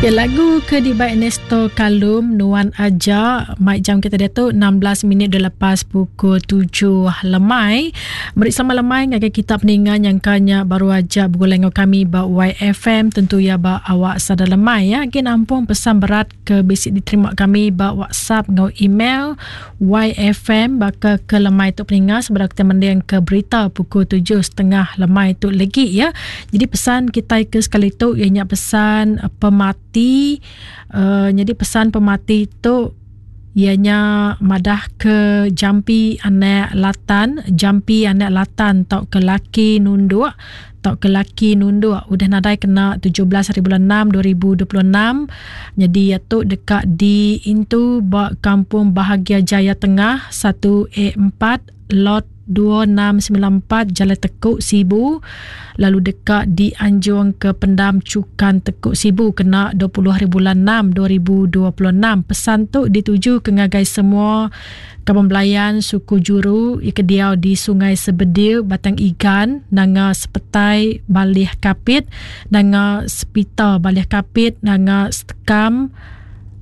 Ya, lagu ke dibai Ernesto Kalum Nuan Aja mai jam kita diatu 16 minit dah lepas pukul 7 lemai. Meri selamat lemai ngagai kita peninga nyangka nya baru aja begulai enggau kami ba YFM tentu ya ba awak sada lemai ya. Agi nampung pesan berat ke bisi diterima kami ba WhatsApp enggau email YFM baka ke lemai tu peninga sebedau kita mending ke berita pukul 7.30 lemai tu legi ya. Jadi pesan kitai ke sekali tu iya nya pesan pemati uh, jadi pesan pemati tu iya nya madah ke jampi anak latan jampi anak latan tau ke laki nunduk tau ke laki nunduk udah nadai kena 17 hari bulan 6 2026 jadi iya tu deka diintu ba Kampung Bahagia Jaya Tengah 1A4 Lot 2694 Jalai Tekuk Sibu lalu deka dianjung ke Pendam Chukan Tekuk Sibu kena 20 hari bulan 6 2026. Pesan tu dituju ke ngagai semua kaban belayan suku juru iya ke diau di Sungai Sebedil, Batang Igan, Nanga Sepetai, Balih Kapit, Nanga Sepita, Balih Kapit, Nanga Setekam,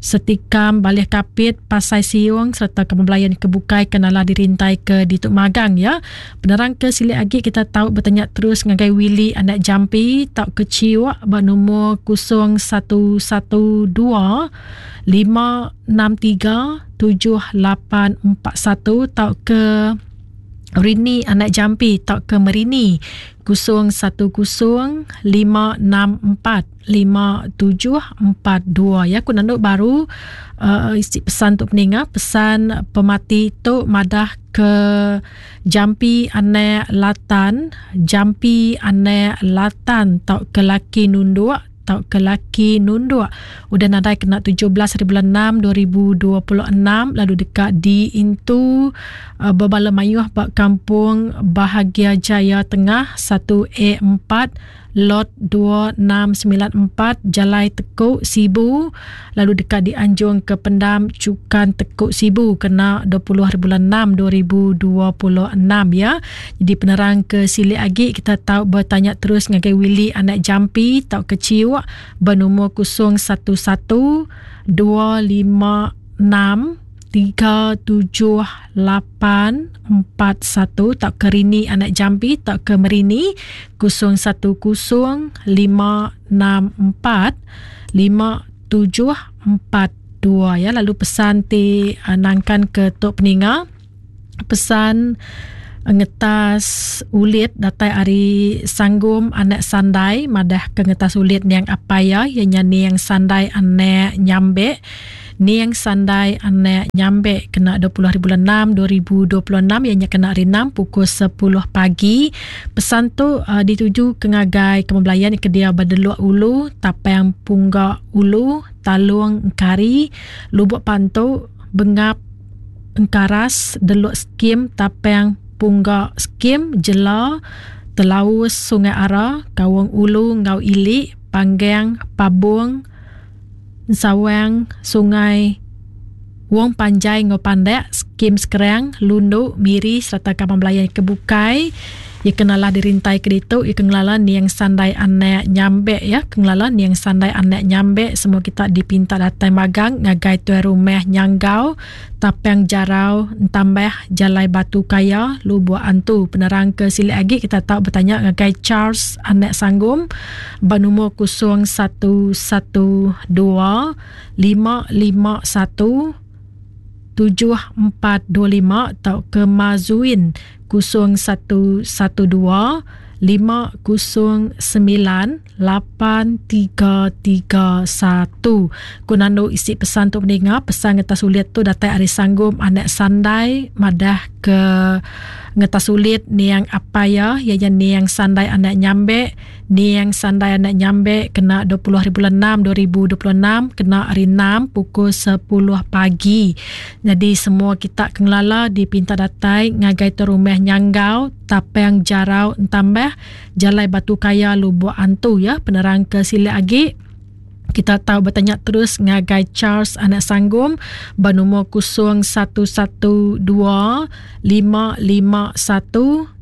Setikam, Balih Kapit, Pasai Siung sereta kaban belayan ke bukai ke nala dirintai ke ditu magang ya. Penerang ke silik agi kita tau betanya terus ngagai Willie anak Jampi tauka Chiuk ba numur 0112 563 7841 tauka Rini anak Jampi tauka Merini 010 564 5742 ya aku nandu baru uh, isi pesan tu peninga pesan pemati tu madah ke jampi anak latan jampi anak latan tau ke laki nunduk tau ke laki nunduk udah nadai kena 17 hari bulan 6 2026 lalu deka diintu uh, bebala mayuh ba kampung Bahagia Jaya Tengah 1A4 Lot 2694 Jalai Tekuk Sibu lalu deka dianjung ke Pendam Chukan Tekuk Sibu kena 20 hari bulan 6 2026 ya. Jadi penerang ke silik agi kita tau bertanya terus ngagai Willie anak Jampi tau ke Ciuk bernomor 011 256 37841 tauka Rini anak Jambi tauka Merini 010564 5742 ya lalu pesan ti uh, nangkan ke tok peninga pesan eh, ngetas ulit datai ari Sanggum anak Sandai madah ke ngetas ulit niang apai ya iya nya niang Sandai anak Nyambek Niang Sandai anak Nyambek kena 20 hari bulan 6 2026 iya nya kena hari 6 pukul 10 pagi. Pesan tu uh, dituju ke ngagai kemebelayan ke dia ba Deluk Ulu, Tapang Pungga Ulu, Talung Engkari, Lubuk Pantu, Bengap Engkaras, Deluk Skim, Tapang Pungga Skim, Jela, Telaus, Sungai Ara, Kaung Ulu enggau Ili, Panggang, Pabong, Ensawang, Sungai Wong Panjai enggau Pandak, Skim Skrang, Lundu, Miri sereta kaban belayan ke bukai. Iya ke nalah dirintai ke ditu, iya ke ngelala niang Sandai Anak Nyambek ya, ke ngelala niang Sandai Anak Nyambek semua kita dipinta datai magang ngagai tuai rumah Nyanggau, Tapang Jarau, Entambah, Jalai Batu Kaya, Lubok Antu. Penerang ke silik agi kita tau betanya ngagai Charles Anak Sanggum ba numur 0112 551 7425 tauka Mazuin 0112 509 8331. Ku nandu isi pesan tu peninga, pesan ngetas ulit tu datai ari Sanggum anak Sandai madah ke ngetas ulit niang apai iya, iya nya niang Sandai anak Nyambek, niang Sandai anak Nyambek kena 20 hari bulan 6 2026 kena hari 6 pukul 10 pagi. Nyadi semua kita ke ngelala dipinta datai ngagai tu rumah Nyanggau Tapang Jarau Entambah Jalai Batu Kaya Lubok Antu ya penerang ke silik agi kita tau betanya terus ngagai Charles anak Sanggum ba numur 0112 551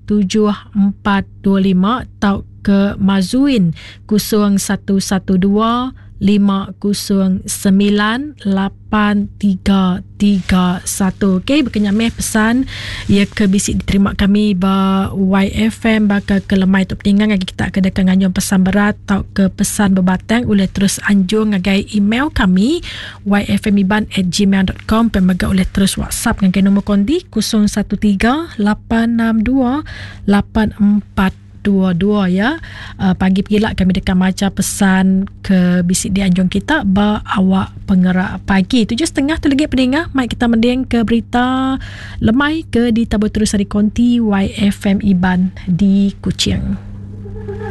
7425 tau ke Mazuin 0112 509 8331. Okey, bekenya meh pesan ia ke bisi diterima kami ba YFM baka ke lemai tu peninga ngagai kita ke deka nganjung pesan berat tauka pesan bebatang ulih terus anjung ngagai email kami yfmiban@gmail.com pe mega ulih terus WhatsApp ngagai nombor kondi 013 862 84 22 ya. Pagi pegila kami deka macha pesan ke bisi dianjung kita ba awak pengerak pagi. 7.30 tu lagi peninga mai kita mending ke berita lemai ke ditabur terus ari konti YFM Iban di Kuching.